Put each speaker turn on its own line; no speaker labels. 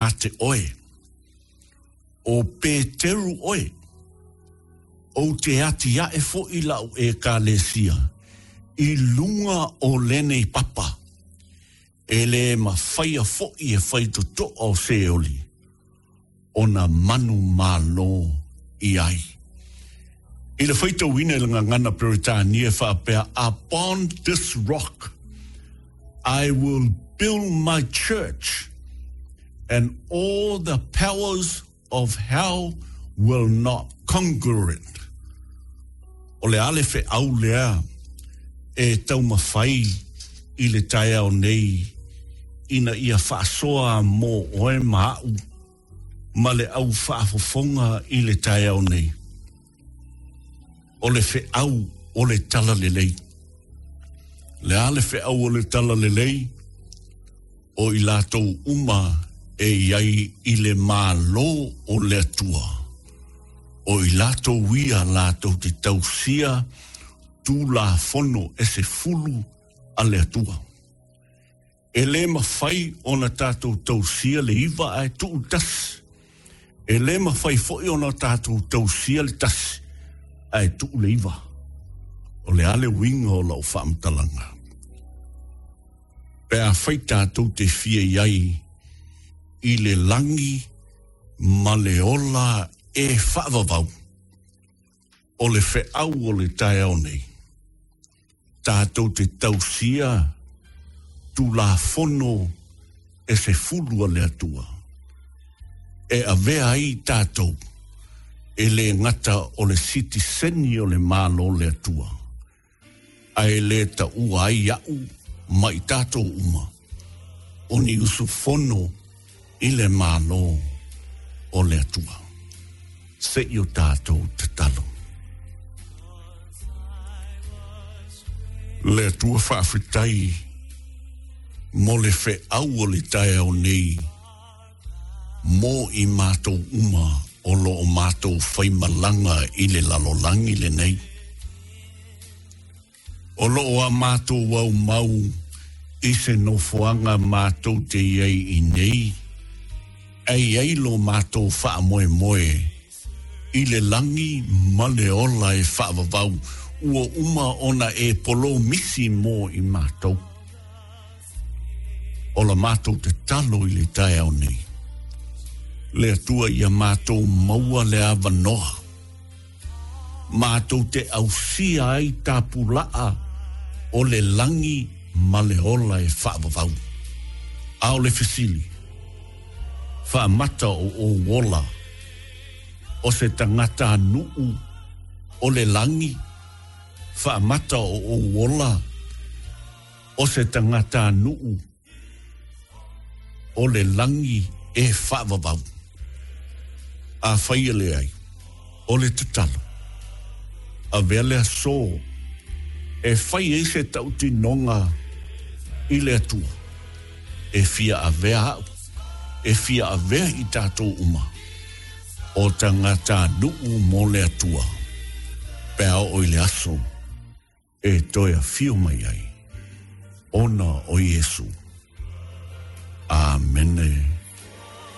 te oe, ʻO Peteru ʻoe, ou te atiaʻe foʻi laʻu ʻEkalesia i luga o lenei papa, e lē mafaia foʻi e faitotoa o Seoli o na manu malo i ai. I le faitauina i le gagana Peretania e faapea, Upon this rock I will build my church and all the powers of hell will not conquer it. O le a le feau lea e taumafai i le taeao nei ina ia faasoa mō oe ma aʻu ma le au faafofoga i le taeao nei. O le feau o le talalelei. Le a le feau o le talalelei? O i latou uma e i ai i le Malo o le Atua, o i latou ia latou te tausia Tulafono e sefulu a le Atua. E lē mafai ona tatou tausia le iva ae tuu le tasi. E lē mafai foi ona tatou tausia le tasi ae tuu le iva. O le a le uiga o lau faamatalaga? Pe afai tatou te fia i ai i le lagi ma le ola e faavavau, o le feau o le taeao nei, tatou te tausia Tulafono e sefulu a le Atua, e avea ai tatou e le gata o le sitiseni o le Malo o le Atua, ae le taua ai aʻu ma i tatou uma o ni usufono i le Malo o le Atua. Se i o tatou tatalo. Le Atua faafetai mo le feau o le taeao nei mo i matou uma o lo o matou faimalaga i le lalolagi lenei. O lo o a matou aumau i se nofoaga matou te i ai i nei, ae i ai lo matou faamoemoe i le lagi ma le ola e faavavau ua uma ona e polomisi mo i matou. O la matou tatalo i le taeao nei, le Atua ia matou maua le avanoa matou te ausia ai tapulaa o le lagi ma le ola e faavavau. A o le fesili, faamata o ou ola o se tagata nuu o le lagi? Faamata o ou ola o se tagata nuu o le lagi e faavavau. Afai e leai, o le tatalo, avea le aso e fai ai se tautinoga i le Atua, e fia avea aʻu, e fia avea i tatou uma, o tagata nuu mo le Atua, pe a oo i le aso e toe afio mai ai ona o Iesu. Amene.